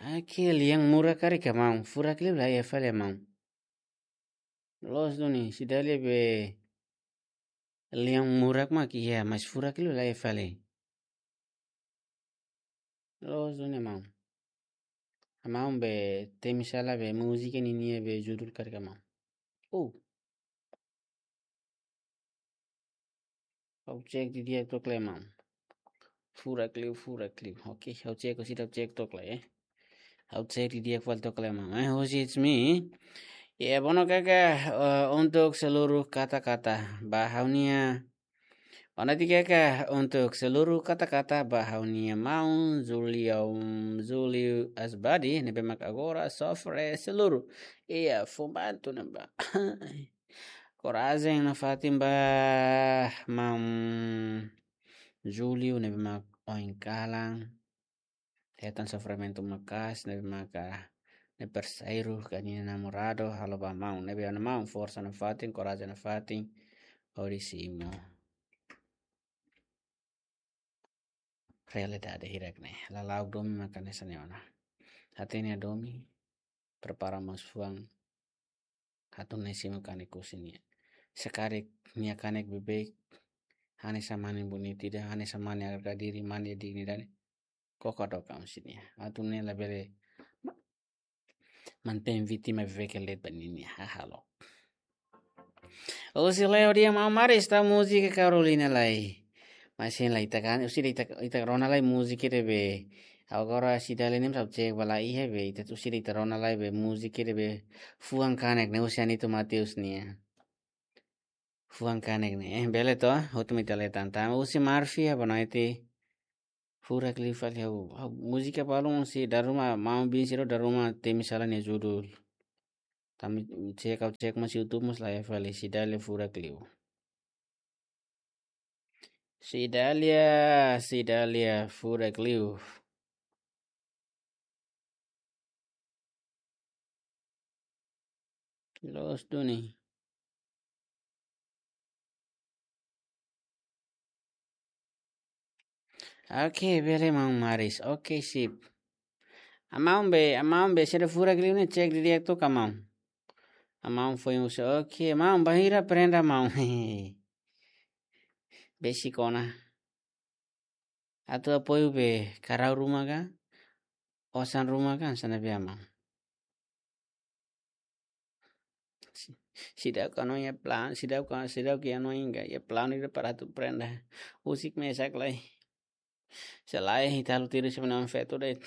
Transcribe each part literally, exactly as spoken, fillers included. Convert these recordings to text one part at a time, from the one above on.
Oke, lian murak karik ka maun. Furak liu la iha fali maun. Loos duni, Cidália be lian murak mak iha, mas furak liu la iha fali. Loos duni maun. Maun be temi sala be múzika ninia be judul karik maun. Oh. Ha'u cek didi'ak took lai maun. Furak liu, furak liu. Oke, ha'u cek, ha'u seidauk cek took lai, eh. Ha'u cek didi'ak fali took lai maun. Eh, husi it's me. Ya, bono kaka, eh, untuk seluruh kata-kata. Ba ha'u-nia. Ona ti kaka, untuk seluruh kata-kata ba ha'u-nia maun, Zulium, Zuliu Asbadi, ne'ebé mak agora sofre seluruh. Iya, fumbantu nembá. Korajen nafatin ba maun Julio ne'ebé mak oin kalan. Hetan sofrimentu maka'as ne'ebé maka ne'e parseiru ka ninia namoradu halo ba maun. Ne'ebé ona maun forsa nafatin, korajen nafatin. Hodi simu realidade hirak ne'e. Lala'ok domin maka hanesan ne'e ona. Hatene domin, prepara mós fuan. Hatún ne'e simu kanek husi nia. Se karik nia kanek beibeik, hanesan mane bonita ida, hanesan mane harga diri, mane dignidade. Koko do kam husi nia. Hatún ne'e labele mantein vítima beibeik ke let ba ninia hahalok. Husi Leo dia maun Maris tau múzika Carolina lai. Mas sin lai ita kan, husi ita, ita rona lai múzika ida be. Agora Cidália ne'e ha'u cek ba la iha be, ita husi ita rona lai be múzika ida be. Fuan kanek ne'e husi Anito Mateus nia. Fuan kanek ne'e, eh, bele to, hotu mai ita lai tanta. Husi Marfia, boa noite. Furak liu fali ha'u, ha'u múzika balun husi dala ruma, maun bin sira dala ruma temi sala nia judul. Tanba cek, ha'u cek mós YouTube mós la iha fali, Cidália furak liu. Cidália, Cidália furak liu. Loos duni. Oke, bele maun Maris. Oke, sip. Maun be, maun be, sira furak liu ne'e cek didi'ak took ka maun. Maun foin husu, oke, maun bainhira prenda maun. Besik ona. Atu apoiu be karau ruma ka, osan ruma ka, hanesan ne'ebé maun. Si-, seidauk hanoin iha plan, seidauk, seidauk hanoin iha plan ida para atu prenda. Husik mesak lai. Se lae ita halo tiru sira-nia oan feto de'it.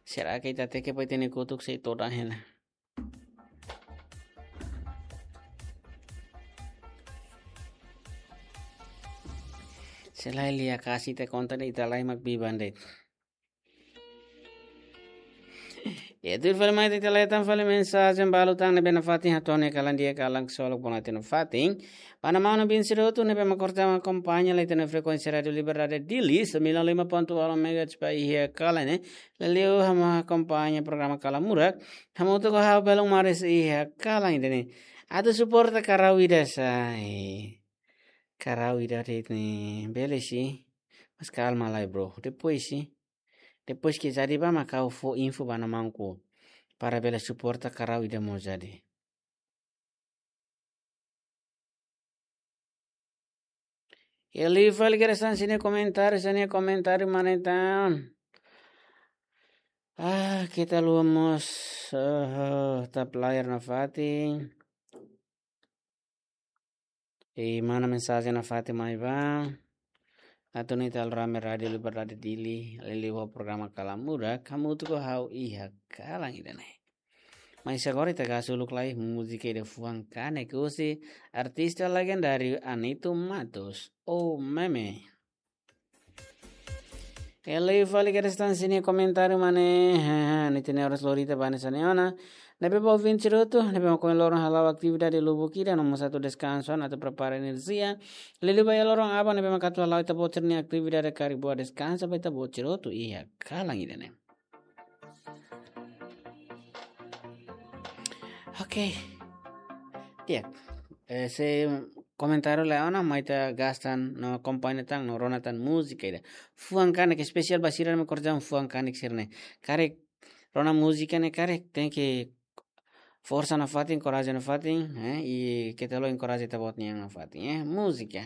Será que ita tenke pai tene kutuk sei todan hela? Se lae lia kasi te konta de'it ita lae mak biban de'it. Ya, tuir fali mai ita leta fali mensajen balu tan ne'ebé nafatin hato'o nia kalan di'ak, kalan ksolok, boa noite nafatin. Ba maun-alin sira hotu ne'ebé mak korta akompaña lai ita-nia frekuénsia Rádio Liberdade Dili, sembilan lima ponto nol megahertz ba iha kalan ne'e. Liuliu ha'u mak akompaña programa Kalan Murak. Hamutuk ho ha'u belun Maris iha kalan ida-ne'e. Atu suporta karau ida sai. Karau ida de'it ne'e bele si. Mas kalma lai, bro. Depois si. Depois ke jadi ba mak ha'u fó info ba maun-alin. Para bele suporta karau ida mós jadi. Liuliu fali kedas tan sira-nia komentáriu, sira-nia komentáriu mane tan. Ah, ita haluha mós, eh, tap layar nafatin. I mana mensajen nafatin mai ba. Atu nune'e ita halo rame Rádio Liberdade Dili, liuliu ho programa Kalan Murak, hamutuk ho ha'u iha kalan ida-ne'e. Mas agora ita hasoru uluk lai múzika ida fuan kanek husi artista legendáriu Anito Matos, O Meme. Liuliu fali kedas tan sira-nia komentáriu mane, ha, ha, ita-nia oras lori tiha ba hanesan ne'e ona. Ne'ebé ba ouvinte sira hotu, ne'ebé mak ohin loron hala'o atividade lubuk ida no mós atu deskansa, atu prepara enerjia. Liuliu ba iha loron aban ne'ebé mak atu hala'o ita-boot sira-nia atividade karik buat deskansa ba ita-boot sira hotu iha kalan ida-ne'e. Oke. Di'ak. Eh, se komentáriu lai ona, mai ita gasta no akompaña tan, no rona tan múzika ida. Fuan kanek, espesiál ba sira ne'ebé korja fuan kanek sira-ne'e. Karik rona múzika ne'e karik, tenke forsa nafatin, korajen nafatin, eh, i keta haluha enkoraja ita-boot nian nafatin, eh, múzika.